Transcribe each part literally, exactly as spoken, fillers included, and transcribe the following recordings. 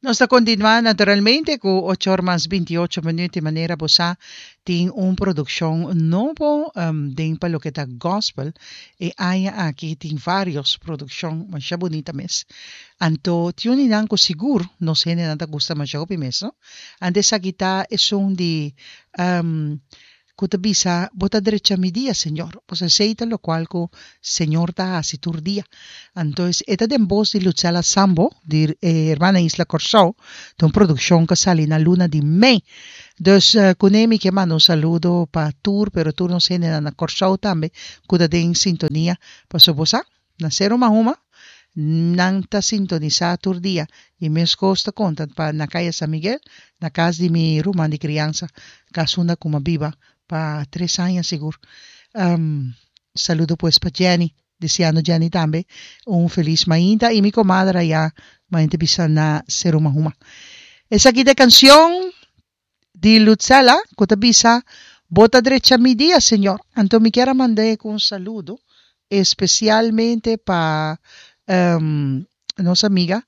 Nos ta kontinuá naturalmente ku ocho or mas binti ocho minüt i manera bo sa tin un produkshon nobo den pa loke ta gospel e aña aki tin varios produkshon masha bunita mes anto tin un di nan ku sigur nos hendenan ta gusta masha hopi mes no anto esaki ta esun di Ku ta bisa, Bo ta drecha mi dia, Señor. Pues esei ta lokual ku Señor ta hasi tur dia. Anto e ta den bos di Lutzella Sambo, di e Hermana Isla Kòrsou. Ta un produkshon ku a sali na luna di mei. Dus kuné mi ke manda un saludo pa tur, pero tur nos hendenan na Kòrsou tambe ku ta den sintonia. Pasobra bo sa, na Seru Mahuma nan ta sintonisá tur dia i meskos ta konta pa na Kaya San Miguel, na kas di mi ruman di kriansa, kas unda ku m'a biba pa tres aña sigur. Saludo pues pa Jenny, deseando Jenny tambe un felis mainta i mi komadre ayá mainta bisa na Seru Mahuma. Esaki ta e kansion di Lutzella ku ta bisa, Bo ta drecha mi dia, Señor. Anto mi kier a mand'é ku un saludo especialmente pa nos amiga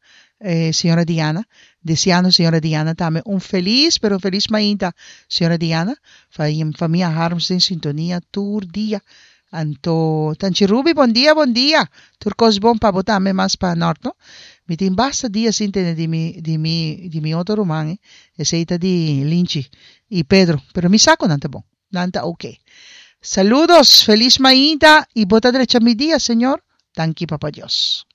señora Diana, deseando señora Diana tambe un feliz pero un feliz mainta señora Diana, famia Harms den sintonia tur dia, anto Tanchi Ruby bon dia bon dia, tur cos bon pa bo tambe mas pa nort no, mi tin basta dia sin tende di mi di mi di mi otro ruman eh, esey ta di Linchi y Pedro, pero mi sa cu nan ta bon. Nan ta ok. Saludos, feliz mainta y bo ta drecha mi dia, Señor. Danki Papa Dios.